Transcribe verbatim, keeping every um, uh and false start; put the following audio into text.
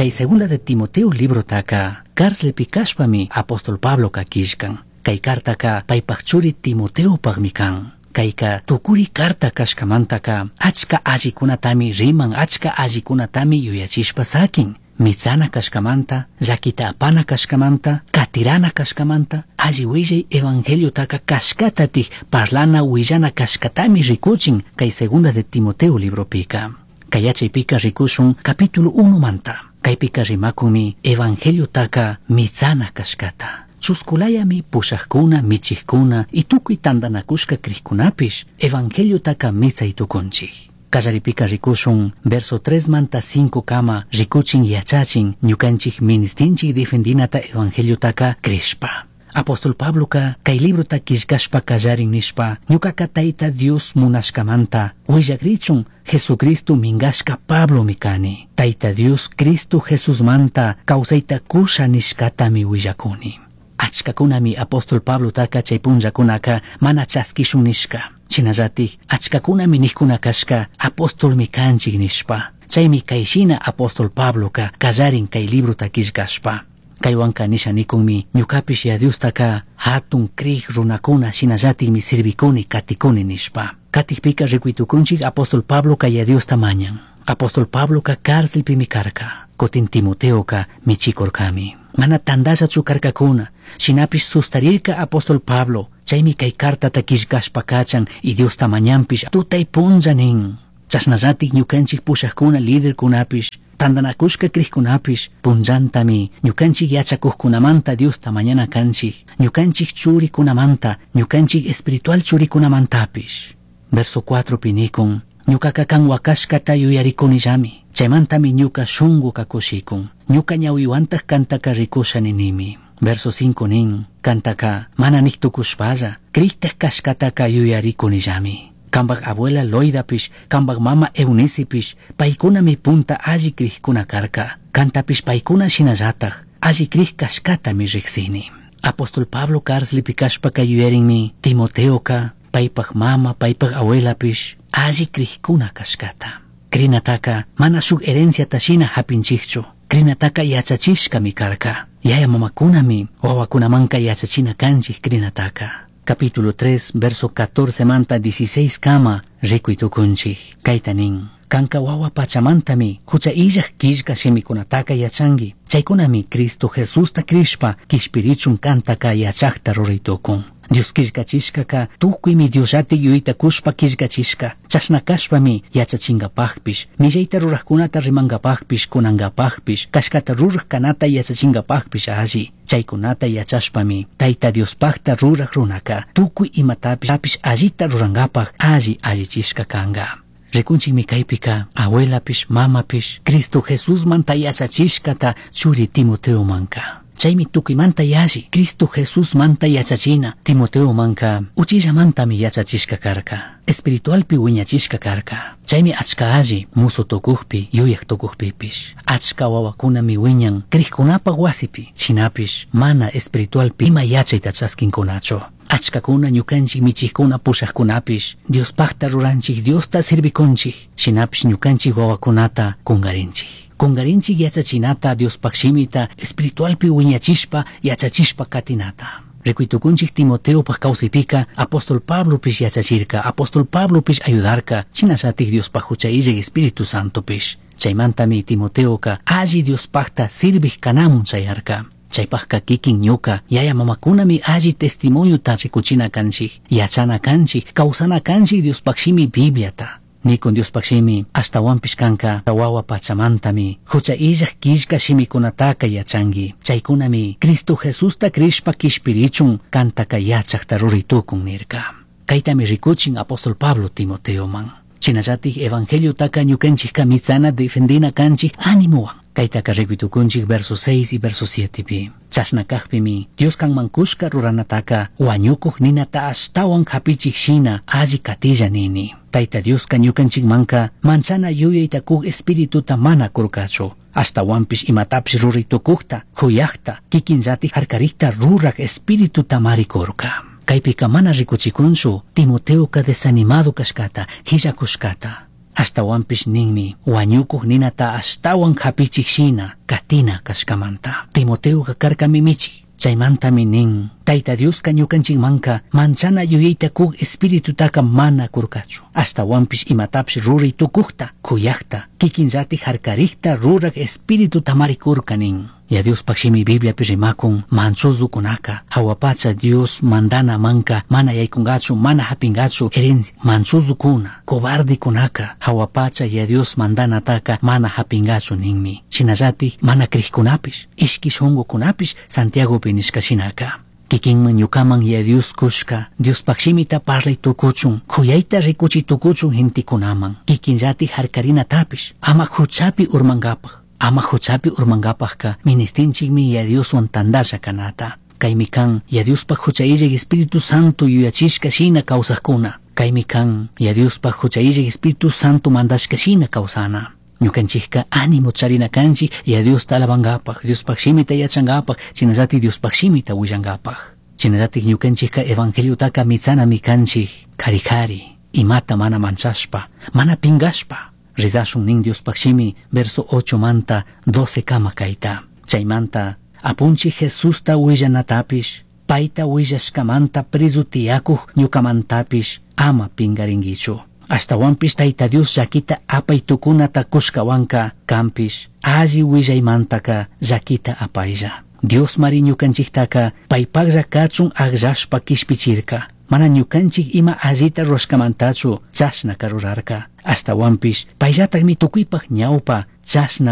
Kay Segunda de Timoteo librotaka carcelpi kashpami apóstol Pabloka killkan. Kay cartaka paypak churi Timoteopakmi kan. Kayka tukuri carta kashkamantaka achka allikunatami riman, achka allikunatami yuyachishpa sakin. Mitsana kashkamanta, llakita apana kashkamanta, katirana kashkamanta, alli willay evangeliotaka kashkatatik parlana willana kashkatami rikuchin kay Segunda de Timoteo libropika. Kay yachaypika rikushun capítulo uno manta. Kaypika rimakunmi evangeliotaka mitsana kashkata. Chuskulayami pushajkuna, michijkuna y tukuy tantanakushka crijkunapish evangeliotaka mitsay tukunchik. Kallaripika rikushun verso tres manta cinco kama rikuchin yachachin ñukanchik ministinchik defendinata evangeliotaka crishpa. Apóstol Pabloka kay librota killkashpa kallarin nishpa ñukaka Tayta Dios munashkamanta willakrichun Jesucristo mingashka Pablomi kani. Tayta Dios Cristo Jesusmanta kawsayta kusha nishkatami willakuni. Achkakunami apóstol Pablotaka chay punllakunaka mana chaskishun nishka. Shinallatik achkakunami nijkuna kashka apostolmi kanchik nishpa. Chaymi kayshina apóstol Pabloka kallarin kay librota killkashpa. Kaywanka nisha nikunmi ñukapish ya Diostaka hatun krij runakuna shinallatikmi sirvikuni katikuni nishpa. Katikpika rikuytukunchik apóstol Pabloka ya Diosta mañan. Apóstol Pabloka cárcelpimi karka. Kutin Timoteoka michikurkami. Mana tandallachu karkakuna, shinapish sustarirka apóstol Pablo, chaymi kay cartata killkashpa kachan y Diosta mañanpish tutay punlla nin. Chashnallatik ñukanchik pushajkuna liderkunapish, tantanakushka crijkunapish, punllantami ñukanchik yachakujkunamanta Diosta mañana kanchik, ñukanchik churikunamanta, ñukanchik espiritual churikunamantapish. Verso cuatro pinikun, ñukaka kan wakashkata yuyarikunillami, chaymantami ñuka shunguka kushikun, ñuka ñawiwantaj kantaka rikusha ninimi. Verso cinco nin, kantaka mana niktukushpalla, crijtaj kashkataka yuyarikunillami. Kambak abuela Loidapish, kambak mama Eunicipish, paykunami punta alli crijkuna karka, kantapish paykuna shinallataj, alli crij kashkatami riksini. Apóstol Pablo cárcelpi kashpaka yuyarinmi Timoteoka, paypak mama, paypak abuelapish, alli crijkuna kashkata. Crinataka mana shuk herenciata shina hapinchikchu, crinataka yachachishkami karka. Yaya mamakunami wawakunamanka yachachina kanchik crinataka. Capítulo tres, verso catorce manta dieciséis kama rikuy tukunchik. Kayta nin, kanka wawa pachamantami hucha illaj killka shimikunataka yachanki. Chaykunami Cristo Jesusta crishpa kishpirichun kantaka yachakta ruray tukun. Dios killkachishkaka tukuymi Diosllatik yuyayta kushpa killkachishka. Chashna kashpami yachachinkapakpish, millayta rurajkunata rimankapakpish, kunankapakpish, kashkata ruraj kanata yachachinkapakpish alli. Chaykunata yachashpami Tayta Diospakta ruraj runaka tukuy imatapish allita rurankapak alli allichishka kanka. Rikunchikmi kaypika abuelapish, mamapish, Cristo Jesusmanta yachachishkata churi Timoteomanka. Chaymi tukuymanta yalli Cristo Jesusmanta yachachina Timoteomanka uchillamantami yachachishka karka, espiritualpi wiñachishka karka. Chaymi achka alli musu tukukpi, yuyaj tukukpipish. Achka wawakunami wiñan crijkunapaj wasipi, shinapish mana espiritualpi ima yachayta chaskinkunachu. Achkakuna ñukanchik michijkuna pushajkunapish Diospakta ruranchik, Diosta sirvikunchik, shinapish ñukanchik wawakunata kungarinchik. Kungarinchik yachachinata Diospaj shimita espiritualpi wiñachishpa yachachishpa katinata. Rikuytukunchik Timoteopaj kawsaypika apóstol Pablopish yachachirka, apóstol Pablopish ayudarka, shinallatik Diospaj hucha illak Espíritu Santopish. Chaymantami Timoteoka alli Diospajta sirvij kanamun chayarka. Chaypajka kikin ñuka, yaya mamakunami alli testimoniota rikuchina kanchik, yachana kanchik, kawsana kanchik Diospaj shimi Bibliata. Nikun Diospaj shimi ashtawanpish kanka wawa pachamantami hucha illaj killka shimikunataka yachanki. Chaykunami Cristo Jesusta crishpa kishpirichun kantaka yachakta ruray tukun nirka. Kaytami rikuchin apóstol Pablo Timoteoman. Shinallatik evangeliotaka ñukanchikka mitsana defendina kanchik animowan. Kaytaka rikuytukunchik verso seis y verso siete pi. Chashna kajpimi Dios kanman kushka ruranataka wañukuj ninata ashtawan hapichik shina alli katilla nini. Tayta Dioska ñukanchikmanka manchana yuyayta kuj espirituta mana kurkachu. Ashtawanpish imatapish ruray tukujta, juyajta, kikinllatik harkarikta ruraj espirituta marikurka. Kaypika mana rikuchikunchu Timoteoka desanimado kashkata, hillakushkata. Ashtahuanpish ninmi huañucuj ninata ashtahuan japichij shina catina cashcamanta. Timoteoca carcami michij. Chaimantami nin, Taita Dioska ñukanchikmanka manchana yuyayta kuj espiritutaka mana kurkachu. Ashtahuanpish imatapish ruray tukujta, kuyajta, kikinllatik harkarikta rurak espiritutamari kurka nin. Yaya Diospaj shimi Bibliapi rimakun manchuzukunaka jahua pacha Dios mandana manka mana yaykungachu mana japingachu herencia manchuzukuna cobardekunaka jahua pacha Yaya Dios mandanataka mana japingachu ninmi. Shinallatik mana crijkunapish ishki shungukunapish Santiagopi nishka shinaka. Kikinman ñukaman Yaya Dios kushka Diospaj shimita parlay tukuchun kuyayta rikuchi tukuchun gentekunaman kikinllatik harkarinatapish ama huchapi urmankapaj ama huchapi urmankapajka ministinchikmi Yaya Dioswan tandalla kanata. Kaymi kan Yaya Diospaj hucha illaj Espíritu Santo yuyachishka shina kawsajkuna. Kaymi kan Yaya Diospaj hucha illaj Espíritu Santo mandashka shina kawsana. Ñukanchikka ánimo charina kanchik Yaya Diosta alabankapaj, Diospaj shimita yachankapaj, shinallatik Diospaj shimita willankapaj. Shinallatik ñukanchikka evangeliotaka mitsanami kanchik kari kari, imata mana manchashpa, mana pingashpa. Rizashun nin Diospaj shimi verso ocho manta doce kama kayta. Chaymanta apunchij Jesusta willanatapish, payta willashkamanta prezu tiyakuj ñukamantapish ama pingaringuichu. Ashtahuanpish Tayta Dios llaquita apay tukunata kushkawanka kanpish alli willaymantaka llaquita apaylla. Dios mari ñukanchiktaka paypaklla kachun akllashpa kishpichirka. Mana ñukanchik ima allita rurashkamantachu chashnaka rurarka. Ashtahuanpish payllatakmi tukuypaj ñawpa chashna